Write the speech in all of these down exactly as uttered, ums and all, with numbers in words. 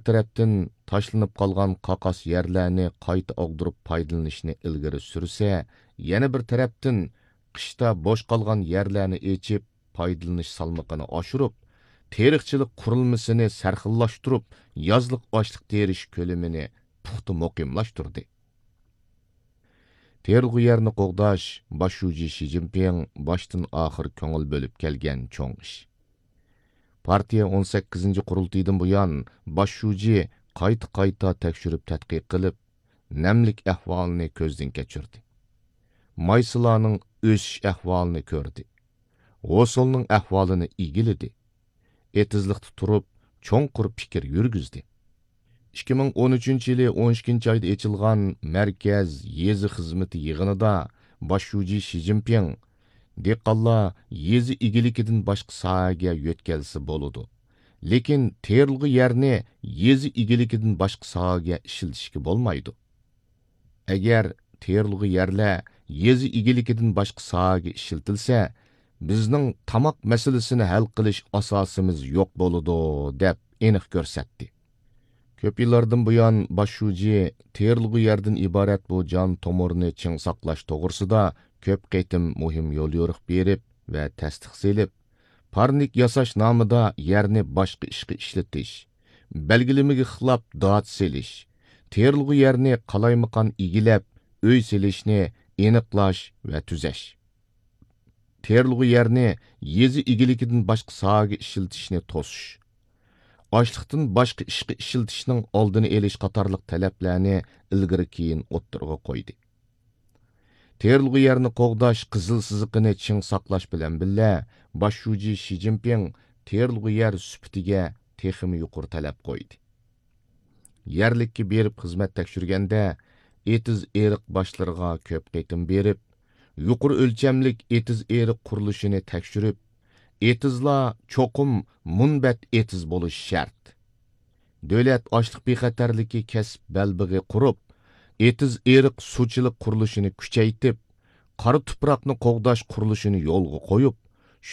تەرەپتىن تاشلىنىپ قالغان قاقاس يەرلەرنى قايتا ئاغدۇرۇپ پايدىلىنىشنى ئىلگىرى سۈرسە، يەنە بىر تەرەپتىن قىشتا بوش قالغان يەرلەرنى ئېچىپ، پايدىلىنىش سالمىقىنى ئاشۇرۇپ، تېرىقچىلىق قۇرۇلمىسىنى سەرخىللاشتۇرۇپ، يازلىق ئاشلىق تېرىش كۆلىمىنى پۇختا مۇقىملاشتۇردى. تېرىلغۇ يەرنى قوغداش باش شۇجى شى جىنپىڭ باشتىن ئاخىر كۆڭۈل بۆلۈپ كەلگەن چوڭ ئىش. پارتىيە ئون سەككىزىنچى قۇرۇلتىيىدىن بۇيان باش شۇجى قايتا-قايتا تەكشۈرۈپ تەتقىق قىلىپ، نەملىك ئەھۋالىنى كۆزدىن كەچۈردى. مايسىلارنىڭ ئۆسۈش ئەھۋالىنى كۆردى. ھوسۇلنىڭ ئەھۋالىنى ئىگىلىدى. ئېتىزلىقتا تۇرۇپ، چوڭقۇر پىكىر يۈرگۈزدى. ئىككى مىڭ ئون ئۈچىنچى يىلى ئون ئىككىنچى ئايدا ئېچىلغان مەركەز يېزا خىزمىتى يىغىنىدا باش شۇجى شى جىنپىڭ، دېھقانلار يېزا ئىگىلىكىدىن باشقا ساھەگە يۆتكەلسە بولىدۇ، لېكىن تېرىلغۇ يەرنى يېزا ئىگىلىكىدىن باشقا ساھەگە ئىشلىتىشكە بولمايدۇ. ئەگەر تېرىلغۇ يەرلەر يېزا ئىگىلىكىدىن باشقا ساھەگە ئىشلىتىلسە، بىزنىڭ تاماق مەسىلىسىنى ھەل قىلىش ئاساسىمىز يوق بولىدۇ، دەپ ئېنىق كۆرسەتتى. كۆپ يىللاردىن بۇيان باش شۇجى تېرىلغۇ يەردىن ئىبارەت بۇ جان تومۇرنى چىڭ ساقلاش توغرىسىدا كۆپ قېتىم مۇھىم يوليورۇق بېرىپ ۋە تەستىق سېلىپ، پارنىك ياساش نامىدا يەرنى باشقا ئىشقا ئىشلىتىش، بەلگىلىمىگە خىلاپ دات سېلىش، تېرىلغۇ يەرنى قالايمىقان ئىگىلەپ، ئۆي سېلىشنى ئېنىقلاش ۋە تۈزەش، تېرىلغۇ يەرنى يېزا ئىگىلىكىدىن باشقا ساھەگە ئىشلىتىشنى توسۇش، ئاشلىقتىن باشقا ئىشقا ئىشلىتىشنىڭ ئالدىنى ئېلىش قاتارلىق تەلەپلەرنى ئىلگىرى كېيىن ئوتتۇرىغا قويدى. تېرىلغۇ يەرنى قوغداش قىزىل سىزىقىنى چىڭ ساقلاش بىلەن بىللە، باش شۇجى شى جىنپىڭ تېرىلغۇ يەر سۈپىتىگە تېخىمۇ يۇقىرى تەلەپ قويدى. يەرلىككە بېرىپ خىزمەت تەكشۈرگەندە، ئېتىز ئېرىق باشلىرىغا كۆپ قېتىم بېرىپ، يۇقىرى ئۆلچەملىك ئېتىز ئېرىق قۇرۇلۇشىنى تەكشۈرۈپ، ئېتىزلار چوقۇم مۇنبەت ئېتىز بولۇشى شەرت. دۆلەت ئاشلىق بىخەتەرلىكى كەسىپ بەلبېغى قۇرۇپ، ئېتىز ئېرىق سۇچىلىق قۇرۇلۇشىنى كۈچەيتىپ، قارا تۇپراقنى قوغداش قۇرۇلۇشىنى يولغا قويۇپ،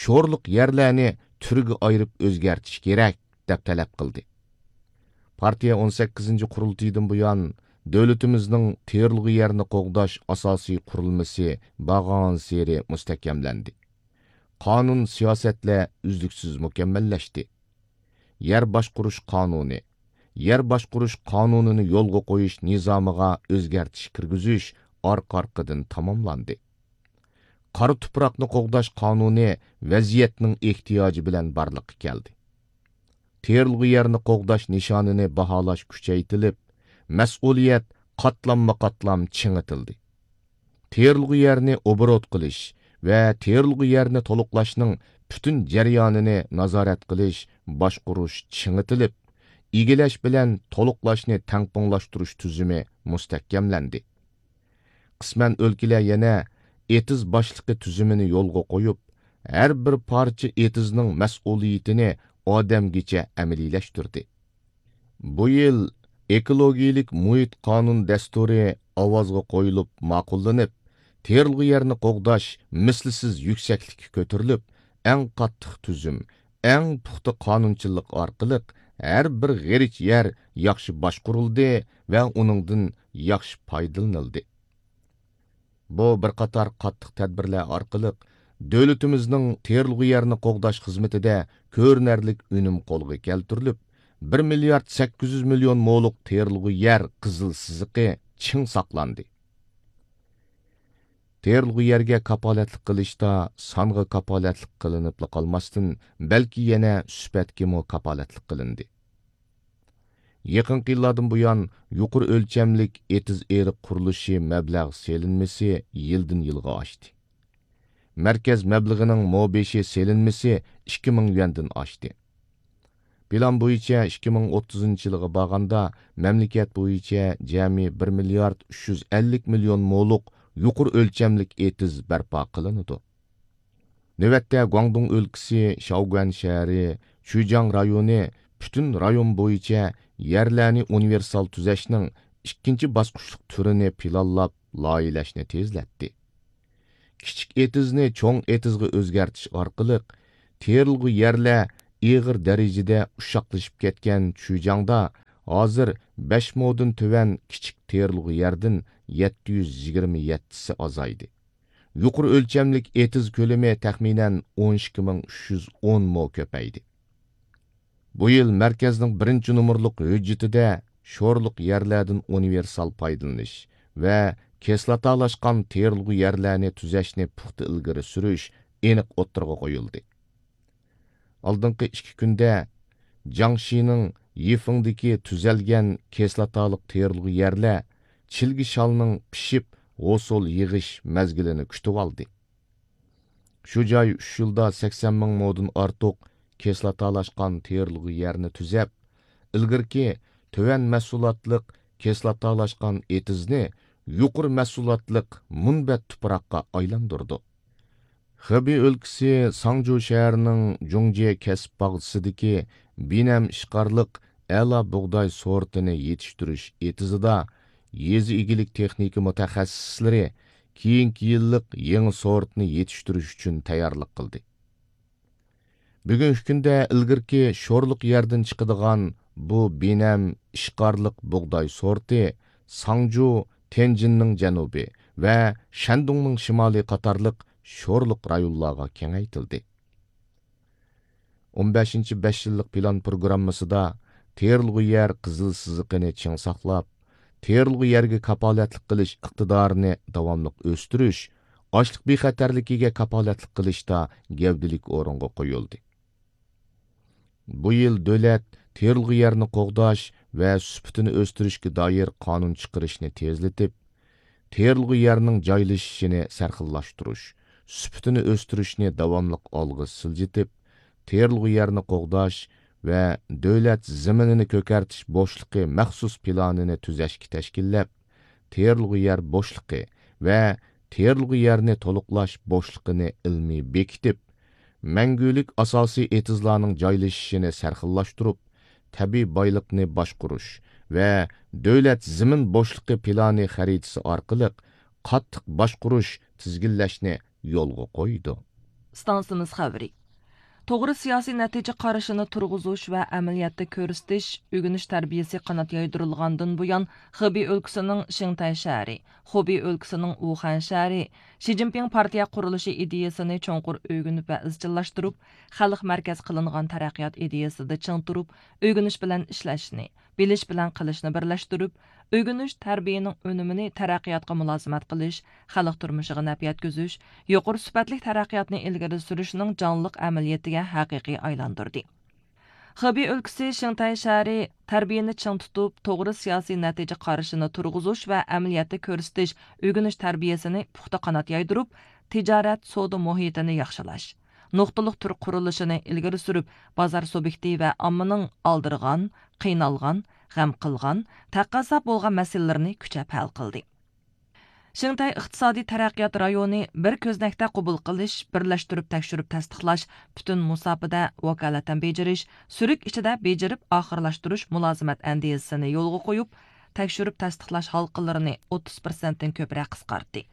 شورلۇق يەرلەرنى تۈرگە ئايرىپ ئۆزگەرتىش كېرەك، دەپ تەلەپ قىلدى. پارتىيە ئون سەككىزىنچى قۇرۇلتىيىدىن بۇيان، دۆلىتىمىزنىڭ تېرىلغۇ يەرنى قوغداش ئاساسىي قۇرۇلمىسى بارغانسېرى مۇستەھكەملەندى. قانۇن، سىياسەتلەر ئۈزلۈكسىز مۇكەممەللەشتى. يەر باشقۇرۇش قانۇنى، يەر باشقۇرۇش قانۇنىنى يولغا قويۇش نىزامىغا ئۆزگەرتىش كىرگۈزۈش ئارقا-ئارقىدىن تاماملاندى. قارا تۇپراقنى قوغداش قانۇنى ۋەزىيەتنىڭ ئېھتىياجى بىلەن بارلىققا كەلدى. تېرىلغۇ يەرنى قوغداش نىشانىنى باھالاش كۈچەيتىلىپ، مەسئۇلىيەت قاتلاممۇ قاتلام چىڭىتىلدى. تېرىلغۇ يەرنى ئوبوروت قىلىش ۋە تېرىلغۇ يەرنى تولۇقلاشنىڭ پۈتۈن جەريانىنى نازارەت قىلىش، باشقۇرۇش چىڭىتىلىپ، ئىگىلەش بىلەن تولۇقلاشنى تەڭپۇڭلاشتۇرۇش تۈزۈمى مۇستەھكەملەندى. قىسمەن ئۆلكىلەر يەنە ئېتىز باشلىقى تۈزۈمىنى يولغا قويۇپ، ھەر بىر پارچە ئېتىزنىڭ مەسئۇلىيىتىنى ئادەمگىچە ئەمەلىيلەشتۈردى. بۇ يىل ئېكولوگىيىلىك مۇھىت قانۇن دەستۇرى ئاۋازغا قويۇلۇپ ماقۇللىنىپ، تېرىلغۇ يەرنى قوغداش مىسلىسىز يۈكسەكلىككە كۆتۈرۈلۈپ، ئەڭ قاتتىق تۈزۈم، ئەڭ پۇختا قانۇنچىلىق ئارقىلىق ھەر بىر غېرىچ يەر ياخشى باشقۇرۇلدى ۋە ئۇنىڭدىن ياخشى پايدىلىنىلدى. بۇ بىر قاتار قاتتىق تەدبىرلەر ئارقىلىق دۆلىتىمىزنىڭ تېرىلغۇ يەرنى قوغداش خىزمىتىدە كۆرۈنەرلىك ئۈنۈم قولغا كەلتۈرۈلۈپ، بىر مىليارد سەككىز يۈز مىليون مولۇق تېرىلغۇ يەر قىزىل سىزىقى چىڭ ساقلاندى. تېرىلغۇ يەرگە كاپالەتلىك قىلىشتا سانغا كاپالەتلىك قىلىنىپلا قالماستىن، بەلكى يەنە سۈپەتكىمۇ كاپالەتلىك قىلىندى. يېقىنقى يىللاردىن بۇيان، يۇقىرى ئۆلچەملىك ئېتىز ئېرىق قۇرۇلۇشى مەبلەغ سېلىنمىسى يىلدىن يىلغا ئاشتى. مەركەز مەبلىغىنىڭ مو بېشى سېلىنمىسى ئىككى مىڭ يۈەندىن ئاشتى. پىلان بويىچە ئىككى مىڭ ئوتتۇزىنچى يىلغا بارغاندا، مەملىكەت بويىچە جەمئىي بىر مىليارد ئۈچ يۈز ئەللىك مىليون مولۇق يۇقىرى ئۆلچەملىك ئېتىز بەرپا قىلىنىدۇ. نۆۋەتتە، گۇاڭدۇڭ ئۆلكىسى شاۋگۈەن شەھىرى، چۈجياڭ رايونى پۈتۈن رايون بويىچە يەرلەرنى ئۇنىۋېرسال تۈزەشنىڭ ئىككىنچى باسقۇچلۇق تۈرىنى پىلانلاپ، لايىھەلەشنى تېزلەتتى. كىچىك ئېتىزنى چوڭ ئېتىزغا ئۆزگەرتىش ئارقىلىق، تېرىلغۇ يەرلەر ئېغىر دەرىجىدە ئۇششاقلىشىپ كەتكەن چۈجياڭدا ھازىر بەش مودىن تۆۋەن كىچىك تېرىلغۇ يەردىن يەتتە يۈز يىگىرمە يەتتىسى ئازايدى. يۇقىرى ئۆلچەملىك ئېتىز كۆلىمى تەخمىنەن ئون ئىككى مىڭ ئۈچ يۈز ئون مو كۆپەيدى. بۇ يىل مەركەزنىڭ بىرىنچى نومۇرلۇق ھۆججىتىدە شورلۇق يەرلەردىن ئۇنىۋېرسال پايدىلىنىش ۋە كىسلاتالاشقان تېرىلغۇ يەرلەرنى تۈزەشنى پۇختا ئىلگىرى سۈرۈش ئېنىق ئوتتۇرىغا قويۇلدى. ئالدىنقى ئىككى كۈندە جياڭشىنىڭ يىفېڭدىكى تۈزەلگەن كىسلاتالىق تېرىلغۇ يەرلەر چىلگە شالنىڭ پىشىپ ھوسۇل يىغىش مەزگىلىنى كۈتۈۋالدى. شۇ جاي ئۈچ يىلدا سەكسەن مىڭ مودىن ئارتۇق كىسلاتالاشقان تېرىلغۇ يەرنى تۈزەپ، ئىلگىرىكى تۆۋەن مەھسۇلاتلىق كىسلاتالاشقان ئېتىزنى يۇقىرى مەھسۇلاتلىق مۇنبەت تۇپراققا ئايلاندۇردى. خېبېي ئۆلكىسى ساڭجۇ شەھىرىنىڭ جۇڭجيې كەسىپ باغچىسىدىكى بىنەم ئىشقارلىق ئەلا بۇغداي سورتىنى يېتىشتۈرۈش ئېتىزىدا يېزا ئىگىلىك تېخنىكا مۇتەخەسسىسلىرى كېيىنكى يىللىق يېڭى سورتنى يېتىشتۈرۈش ئۈچۈن تەييارلىق قىلدى. بۈگۈنكى كۈندە ئىلگىرىكى شورلۇق يەردىن چىقىدىغان بۇ بىنەم ئىشقارلىق بۇغداي سورتى ساڭجۇ، تيەنجىننىڭ جەنۇبى ۋە شەندۇڭنىڭ شىمالى قاتارلىق شورلۇق رايونلارغا كېڭەيتىلدى. ئون بەشىنچى بەش يىللىق پىلان پروگراممىسىدا تېرىلغۇ يەر قىزىل سىزىقىنى چىڭ ساقلاپ، تېرىلغۇ يەرگە كاپالەتلىك قىلىش ئىقتىدارىنى داۋاملىق ئۆستۈرۈش، ئاشلىق بىخەتەرلىكىگە كاپالەتلىك قىلىشتا گەۋدىلىك ئورۇنغا قويۇلدى. بۇ يىل دۆلەت تېرىلغۇ يەرنى قوغداش ۋە سۈپىتىنى ئۆستۈرۈشكە دائىر قانۇن چىقىرىشنى تېزلىتىپ، تېرىلغۇ يەرنىڭ جايلىشىشىنى سەرخىللاشتۇرۇش، سۈپىتىنى ئۆستۈرۈشنى داۋاملىق ئالغا سىلجىتىپ، تېرىلغۇ يەرنى قوغداش ۋە دۆلەت زېمىنىنى كۆكەرتىش بوشلۇقى مەخسۇس پىلانىنى تۈزەشكە تەشكىللەپ، تېرىلغۇ يەر بوشلۇقى ۋە تېرىلغۇ يەرنى تولۇقلاش بوشلۇقىنى ئىلمىي بېكىتىپ، مەڭگۈلۈك ئاساسىي ئېتىزلارنىڭ جايلىشىشىنى سەرخىللاشتۇرۇپ، تەبىئىي بايلىقنى باشقۇرۇش ۋە دۆلەت زېمىن بوشلۇقى پىلانى خەرىتىسى ئارقىلىق قاتتىق باشقۇرۇش، تىزگىنلەشنى يولغا قويىدۇ. ئىستانسىمىز خەۋىرى. توغرا سىياسىي نەتىجە قارىشىنى تۇرغۇزۇش ۋە ئەمەلىيەتتە كۆرسىتىش ئۆگىنىش تەربىيەسى قانات يايدۇرۇلغاندىن بۇيان، خېبېي ئۆلكىسىنىڭ شىڭتەي شەھىرى، خۇبېي ئۆلكىسىنىڭ ۋۇخەن شەھىرى شى جىنپىڭ پارتىيە قۇرۇلۇشى ئىدىيەسىنى چوڭقۇر ئۆگىنىپ ۋە ئىزچىللاشتۇرۇپ، خەلق مەركەز قىلىنغان تەرەققىيات ئىدىيەسىدە چىڭ تۇرۇپ، ئۆگىنىش بىلەن ئىشلەشنى، بىلىش بىلەن قىلىشنى بىرلەشتۈرۈپ، ئۆگىنىش تەربىيەنىڭ ئۈنۈمىنى تەرەققىياتقا مۇلازىمەت قىلىش، خەلق تۇرمۇشىغا نەپ يەتكۈزۈش، يۇقىرى سۈپەتلىك تەرەققىياتنى ئىلگىرى سۈرۈشنىڭ جانلىق ئەمەلىيىتىگە ھەقىقىي ئايلاندۇردى. خېبېي ئۆلكىسى شىڭتەي شەھىرى تەربىيەنى چىڭ تۇتۇپ، توغرا سىياسىي نەتىجە قارىشىنى تۇرغۇزۇش ۋە ئەمەلىيەتتە كۆرسىتىش ئۆگىنىش تەربىيەسىنى پۇختا قانات يايدۇرۇپ، تىجارەت، سودا مۇھىتىنى ياخشىلاش، نۇقتىلىق تۈر قۇرۇلۇشىنى ئىلگىرى سۈرۈپ، بازار سۇبيېكتى ۋە ئاممىنىڭ ئالدىرىغان، قىينالغان، غەم قىلغان، تەقەززا بولغان مەسىلىلىرىنى كۈچەپ ھەل قىلدى. شىڭتەي ئىقتىسادىي تەرەققىيات رايونى بىر كۆزنەكتە قوبۇل قىلىش، بىرلەشتۈرۈپ تەكشۈرۈپ تەستىقلاش، پۈتۈن مۇساپىدە ۋاكالىتەن بېجىرىش، سۈرۈك ئىچىدە بېجىرىپ ئاخىرلاشتۇرۇش مۇلازىمەت ئەندىزىسىنى يولغا قويۇپ، تەكشۈرۈپ تەستىقلاش ھالقىلىرىنى ئوتتۇز پىرسەنتتىن كۆپرەك قىسقارتتى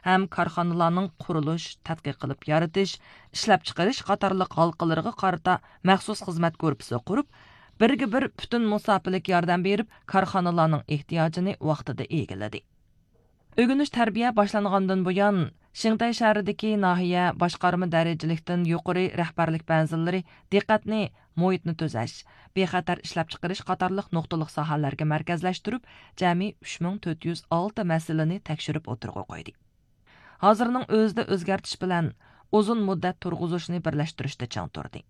ھەم كارخانىلارنىڭ قۇرۇلۇش، تەتقىق قىلىپ يارىتىش، ئىشلەپچىقىرىش قاتارلىق ھالقىلىرىغا قارىتا مەخسۇس خىزمەت گۇرۇپپىسى قۇرۇپ، بىرگە بىر پۈتۈن مۇساپىلىك ياردەم بېرىپ، كارخانىلارنىڭ ئېھتىياجىنى ۋاقتىدا ئىگىلىدى. ئۆگىنىش تەربىيە باشلانغاندىن بۇيان، شىڭتەي شەھىرىدىكى ناھىيە باشقارما دەرىجىلىكتىن يۇقىرى رەھبەرلىك بەنزىلىرى دىققەتنى مۇھىتنى تۈزەش، بىخەتەر ئىشلەپچىقىرىش قاتارلىق نۇقتىلىق ساھەلەرگە مەركەزلەشتۈرۈپ، جەمئىي ئۈچ مىڭ تۆت يۈز ئالتە مەسىلىنى تەكشۈرۈپ ئوتتۇرىغا قويدى. ھازىرنىڭ ئۆزىدە ئۆزگەرتىش بىلەن ئۇزۇن مۇددەت تۇرغۇزۇشنى بىرلەشتۈرۈشتە چىڭ تۇردى.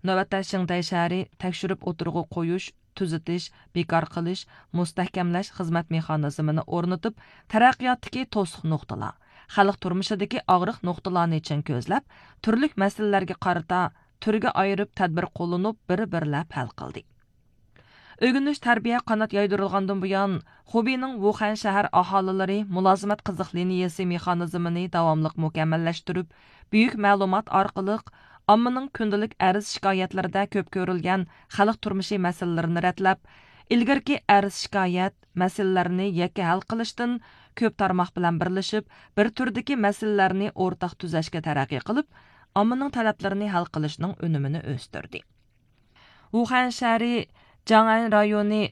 نۆۋەتتە شىڭتەي شەھىرى تەكشۈرۈپ ئوتتۇرىغا قويۇش، تۈزىتىش، بىكار قىلىش، مۇستەھكەملەش خىزمەت مېخانىزمىنى ئورنىتىپ، تەرەققىياتتىكى توسۇق نۇقتىلار، خەلق تۇرمۇشىدىكى ئاغرىق نۇقتىلارنى چىڭ كۆزلەپ، تۈرلۈك مەسىلىلەرگە قارىتا تۈرگە ئايرىپ تەدبىر قوللىنىپ، بىر-بىرلەپ ھەل قىلدى. ئۆگىنىش تەربىيە قانات يايدۇرۇلغاندىن بۇيان، خۇبېينىڭ ۋۇخەن شەھەر ئاھالىلىرى مۇلازىمەت قىزىق لىنىيەسى مېخانىزمىنى داۋاملىق مۇكەممەللەشتۈرۈپ، بۈيۈك مەلۇمات ئارقىلىق ئاممىنىڭ كۈندىلىك ئەرز شىكايەتلىرىدە كۆپ كۆرۈلگەن خەلق تۇرمۇشى مەسىلىلىرىنى رەتلەپ، ئىلگىرىكى ئەرز شىكايەت مەسىلىلەرنى يەككە ھەل قىلىشتىن كۆپ تارماق بىلەن بىرلىشىپ، بىر تۈردىكى مەسىلىلەرنى ئورتاق تۈزەشكە تەرەققىي قىلىپ، ئاممىنىڭ تەلەپلىرىنى ھەل قىلىشنىڭ ئۈنۈمىنى ئۆستۈردى. ۋۇخەن شەھىرى جاڭئەن رايونى